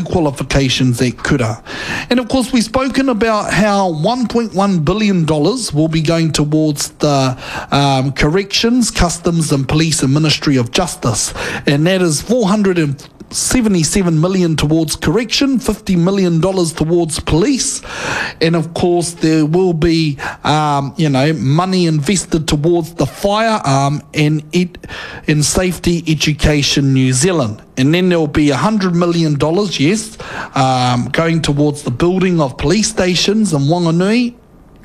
Qualifications at Kura. And of course, we've spoken about how $1.1 billion will be going towards the um, Corrections, Customs and Police and Ministry of Justice. And that is 477 million towards correction, 50 million dollars towards police, and of course there will be, um, you know, money invested towards the firearm and it in safety education New Zealand. And then there will be $100 million, yes, um, going towards the building of police stations in Wanganui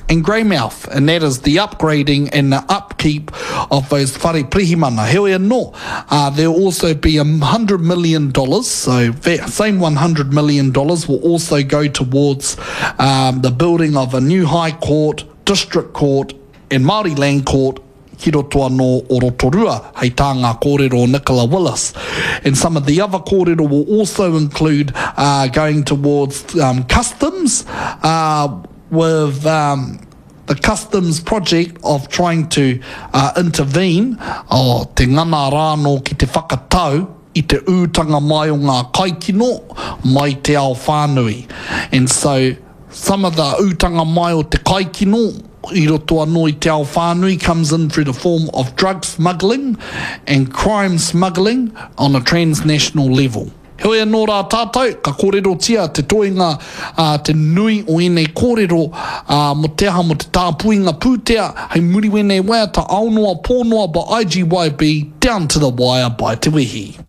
and Greymouth, and that is the upgrading and the upkeep of those whare pirihimana. Heoi anō, uh, there will also be $100 million, so that same $100 million will also go towards um, the building of a new High Court, District Court, and Māori Land Court ki roto anō o Rotorua, hei tā ngā kōrero o Nicola Willis. And some of the other kōrero will also include uh, going towards um, customs uh, with um, the customs project of trying to uh, intervene, oh, te ngana rānō ki te whakatau i te ūtanga mai o ngā kaikino mai te ao whānui. And so, some of the ūtanga mai o te kaikino i roto anō i te ao whānui comes in through the form of drug smuggling and crime smuggling on a transnational level. Heoi anō rā tātou, ka kōrerotia te toenga, ā, te nui o ēnei kōrero, ā, mō te aha, mō te tāpuinga pūtea, hei muri wēnei waiata ao noa, pō noa by IGYB, Down to the Wire by Te Wehi.